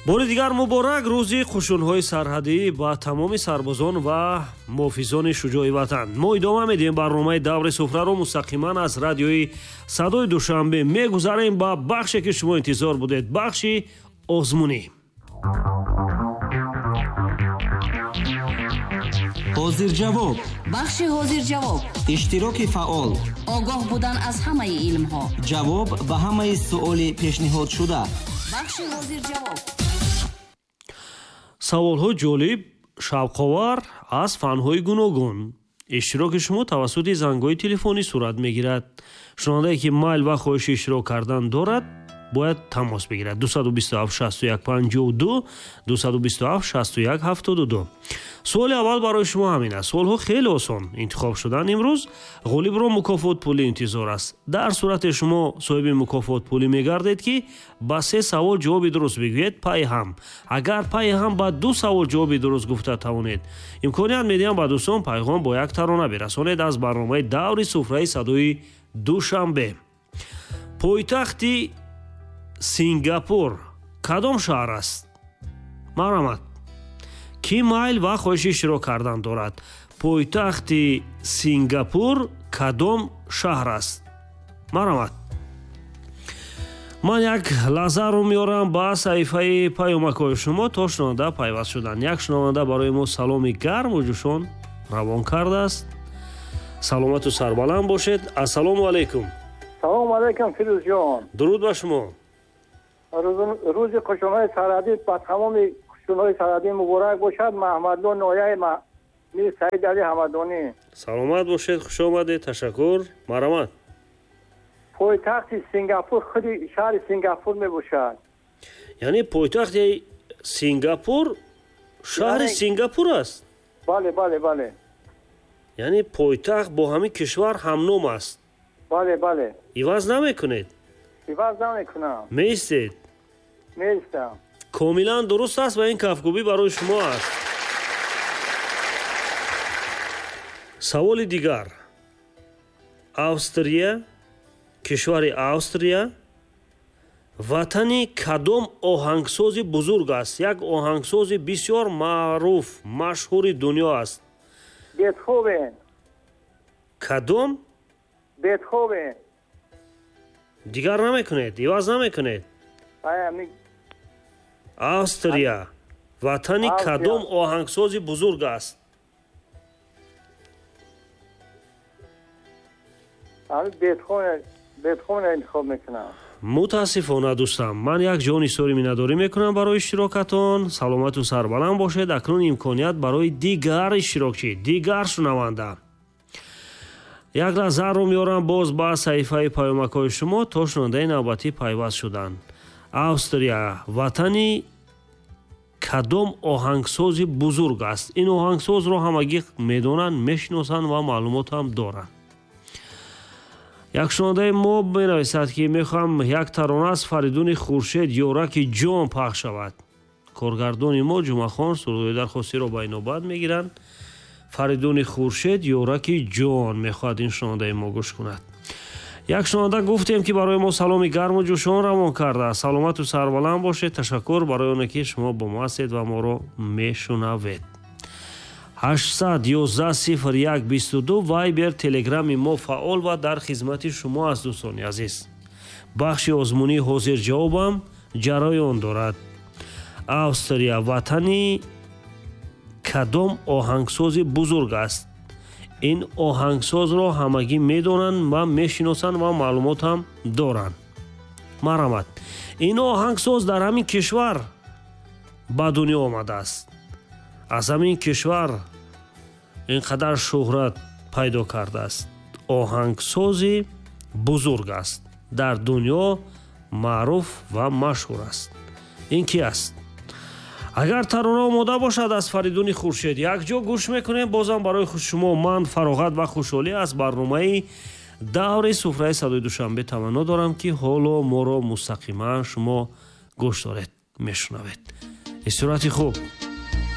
Бори дигар муборак рӯзи қушунҳои сарҳадӣ ба тамоми сарбозон ва муҳофизони шуҷои ватан. Мо идома медиҳем барномаи даври суфраро мустақиман аз радиои садои Душанбе. Мегузарем ба бахше ки шумо интизор будед, бахши озмунӣ. Ҳозирҷавоб. Бахши ҳозирҷавоб. Иштироки фаъол. Огоҳ будан аз ҳамаи илмҳо. Ҷавоб ба ҳамаи суоли пешниҳодшуда. Бахши ҳозирҷавоб. Саволҳо ҷолиб, шавқовар аз фанҳои гуногун. Иштироки шумо тавассути зангҳои телефонӣ сурат мегирад. Шунавандае ки майл ва хоҳиши иштирок кардан дорад, бояд тамос бигирад. 227 61 52, 227 61 72. Суоли аввал барои шумо ҳамин аст. Суолҳо хеле осон интихоб шуданд имрӯз. Ғолибро мукофот пулӣ интизор аст. Дар сурате шумо соҳиби мукофот пулӣ мегардед, ки ба се савол ҷавоби дуруст бигӯед пайи ҳам. Агар пайи ҳам ба ду савол ҷавоби дуруст гуфта тавонед, имконият медиҳам ба дӯстон пайғом бо як тарона бирасонед аз барномаи даври суфраи садои Душанбе. Пойтахти Сингапур кадом шаҳр аст? Марҳамат. Кӣ майл ва хоҳиши иштирок кардан дорад? Пойтахти Сингапур кадом шаҳр аст? Марҳамат. Ман як лаҳзаро меорам ба саҳифаи паёмакҳои шумо то шунаванда пайваст шуданд. Як шунаванда барои мо саломи гарму ҷӯшон равон кардааст. Саломату сарбаланд бошед. Ассалому алайкум. Салому алайкум, Фирӯзҷон. Дуруд ба шумо. Рӯзи қушунҳои сарҳадӣ ба тамоми қушунҳои сарҳадӣ муборак бошад. Маҳмадло ноҳияи Мир Саид Али Ҳамадонӣ. Саломат бошед, хуш омадед, ташаккур. Марҳамат. Пойтахти Сингапур худи шаҳри Сингапур мебошад. Яъне пойтахти Сингапур шаҳри Сингапур аст? Бале, бале, бале. Яъне пойтахт бо ҳамин кишвар ҳамном аст? Бале, бале. Иваз намекунед? Иваз намекунам. Меистед? Меистам. Комилан дуруст аст ва ин кафкӯбӣ барои шумо аст. Саволи дигар. Австрия, кишвари Австрия ватани кадом оҳангсози бузург аст? Як оҳангсози бисёр маъруф, машҳури дунё аст. Бетховен. Кадом? Бетховен. Дигар намекунед, иваз намекунед. Австрия ватани кадом оҳангсози бузург аст? Бетховен интихоб мекунам. Мутаассифона дӯстам, ман як ҷони сори миннатдорӣ мекунам барои иштирокатон. Саломату сарбаланд бошед. Акнун имконият барои дигар иштирокчӣ, дигар шунаванда. Як лаҳзаро меорам боз ба саҳифаи паёмакҳои шумо то шунавандаи навбатӣ пайваст шуданд. Австрия ватани кадом оҳангсози бузург аст? Ин оҳангсозро ҳамагӣ медонанд, мешиносанд ва маълумот ҳам доранд. Як шунавандаи мо менависад, ки мехоҳам як тарона аз Фаридуни Хуршед «Ёраки ҷон» пахш шавад. Коргардони мо Ҷумъахон сурудҳои дархостиро ба инобат мегиранд. Фаридуни Хуршед «Ёраки ҷон» мехоҳад ин шунавандаи мо гӯш кунад. Як шунаванда гуфтем, ки барои мо саломи гарму ҷӯшон равон кардааст. Саломату сарбаланд бошед. Ташаккур барои оне ки шумо бо мо ҳастед ва моро мешунавед. 811 01 22 Вайбер, Телеграми мо фаъол ва дар хизмати шумо аст, дӯстони азиз. Бахши озмунии ҳозирҷавобам ҷараён дорад. Австрия ватани кадом оҳангсози бузург аст? Ин оҳангсозро ҳамагӣ медонанд ва мешиносанд ва маълумот ҳам доранд. Марҳамат. Ин оҳангсоз дар ҳамин кишвар ба дунё омадааст. Аз ҳамин кишвар ин қадар шӯҳрат пайдо кардааст. Оҳангсози бузург аст. Дар дунё маъруф ва машҳур аст. Ин ки аст? Агар тарона омода бошад аз Фаридуни Хуршед якҷо гӯш мекунем. Бозам барои шумо ман фароғат ва хушҳолӣ аз барномаи даври суфраи садои Душанбе таманно дорам, ки ҳоло моро мустақиман шумо гӯш доред, мешунавед. Истироҳати хуб.